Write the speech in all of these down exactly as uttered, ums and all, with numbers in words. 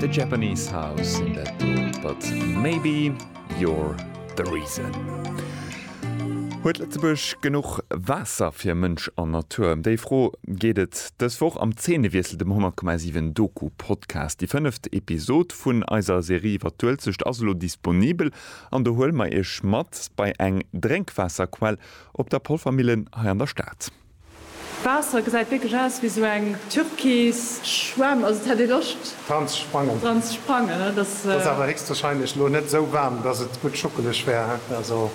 The Japanese House sinn dat do, But Maybe You're The Reason. Huet Lëtzebuerg genuch Waasser fir Mënsch an Natur? Ëm déi Fro geet et dës Woch am Zeenewiessel, dem honnert Komma siwen Doku-Podcast. Déi fënneft Episod vun eiser Serie iwwer d'Uelzecht ass elo disponibel an do huele mer iech mat bei eng Drénkwaasserquell op der Polvermillen hei an der Stad. D'Waasser gesäit wierklech aus wéi sou eng türkis Schwämm, also et hätt ee Loscht dran ze sprangen. Dran ze sprangen, ne? Dat ass awer héchstwahrscheinlech lo net sou waarm, dass et gutt schuckeleg wär, also.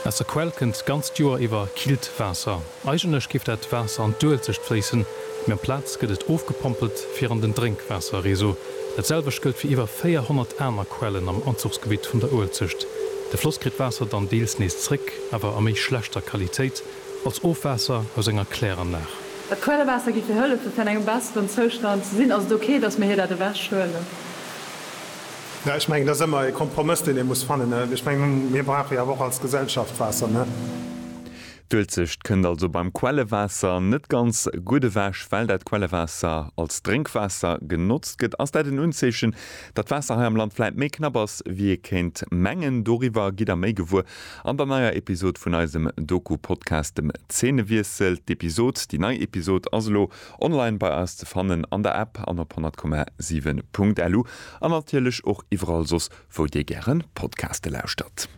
Aus der Quell kënnt d'ganzt Joer iwwer killt Waasser. Eigentlech géif dat Waasser an d'Uelzecht fléissen, mee amplaz gëtt et ofgepompelt fir an den Drénkwaasserreseau. Dat selwecht gëllt fir iwwer véierhonnert aner Quellen am Anzuchsgebitt vun der Uelzecht. De Floss kritt d'Waasser dann deels nees zréck, awer a méi schlechter Qualitéit, als Ofwaasser aus enger Kläranlag. Dat Quellewaasser géif hir hëllefen, fir an engem besseren Zoustand ze sinn. Ass et ok, datt mir hir dat ewechhuelen? Jo, ech mengen, dat ass ëmmer e Kompromëss, deen ee muss fannen. Ech mengen, mir brauche jo awer och als Gesellschaft Waasser, ne? D'Uelzecht kënnt also beim Quellewaasser net ganz gutt ewech. Well dat Quellewaasser als Drénkwaasser genotzt gëtt, ass dat en Unzeechen, datt d'Waasser hei am Land vläit méi knapp ass, wéi ee kéint mengen. Doriwwer gitt der méi gewuer an der neier Episod vun eisem Doku-Podcast, dem Zeenewiessel. D'Episod, déi nei Episod ass elo online bei eis ze fannen an der App an op honnert Komma siwen Punkt lu an natierlech och iwwerall soss, wou dir gären Podcaste lauschtert.